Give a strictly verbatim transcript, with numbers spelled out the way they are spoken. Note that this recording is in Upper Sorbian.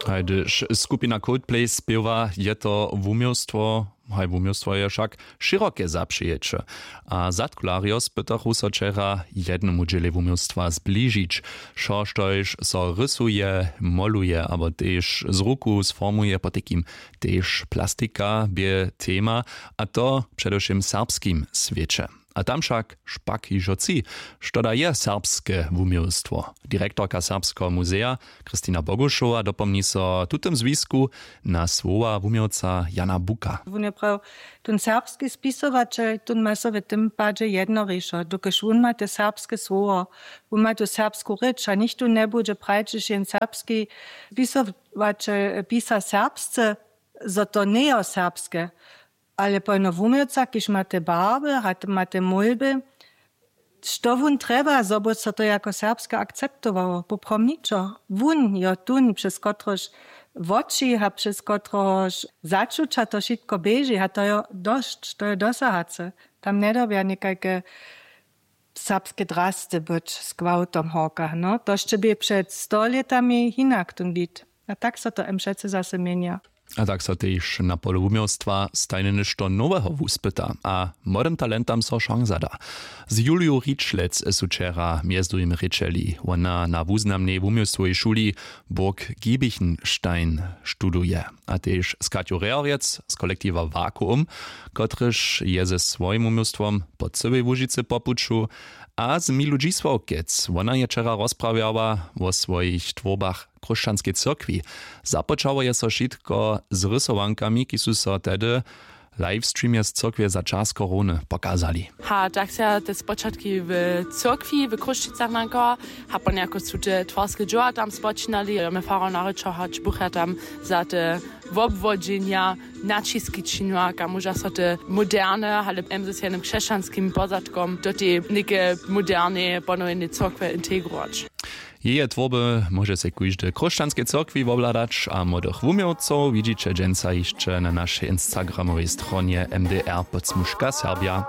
Haj hdyž skupina Coldplay spěwa, je to wuměłstwo. Haj wuměłstwo je wšak šěroke zapřijeće. A zadkularjo spytachu so wčera jednomu dźělej wuměłstwa zbližić, wšo štož so rysuje, moluje abo tež z ruku sformuje, potajkim tež plastika bě tema, a to předewšěm w serbskim swěće. A tam wšak špak hižo tři. Što da je serbske wuměłstwo? Direktorka serbskeho muzeja Kristina Bogušowa dopomni so w tutym zwisku na słowa wuměłca Jana Buka. Wón je praw, tón serbski spisowaćel, tón ma so w tym padźe jednorišo, dokelž wón ma te serbske słowo, wón ma tu serbsku rěč a nichtó njebudźe prajić, hdźež jen serbski spisowaćel pisa serbsce, zo to njejo serbske. Ale pojno wuměłca, kiž ma te barby a ma te mólby, što wón trjeba, zo by so to jako serbske akceptowało? Poprawom ničo. Wón jo tón, přez kotrehož woči a přez kotrehož začuća to wšitko běži, a to jo dosć, to jo dosahace. Tam njedyrbja někajke serbske drasty być z gwałtom horka, no to sće bě před sto lětami hinak tón wid. A tak so to em přecy zase měnja. A tak so tež na polu wuměłstwa stajnje něšto noweho wuspyta a młodym talentam so šansa da. Z Juliju Ričlec su wčera mjez druhim rěčeli. Wona na wuznamnej wuměłstwowej šuli Burg Giebichenstein studuje, a tež z Katju Rehorjec z kolektiwa Vakuum, kotryž je ze swojim wuměłstwom po cyłej Łužicy po puću, a z Milu Dźisławkec. Wona je wčera rozprawjała wo swojich twórbach Chróšćanskej cyrkwi. Započało je so wšitko z rysowankami, ki su so tehdy w livestreamje z cyrkwje za čas korony pokazali. Ha tak se te spočatki w cyrkwi w Chrósćicach nankowa, ha ponjako su te twarske dźěła tam spočinali, jo my farar naryčo hač bucha tam za te wobwodźenja naćiski činiła, kaž móža so te moderne ale mz z jednym křesćanskim pozadkom do tej něke moderneje ponowjenej cyrkwje integrować. Jeje twórby móže sej kóždy w Chrósćanskej cyrkwi wobhladać, a młodych wuměłcow widźiće dźensa hišće na našej instagramowej stronje M D R podsmuška Serbja.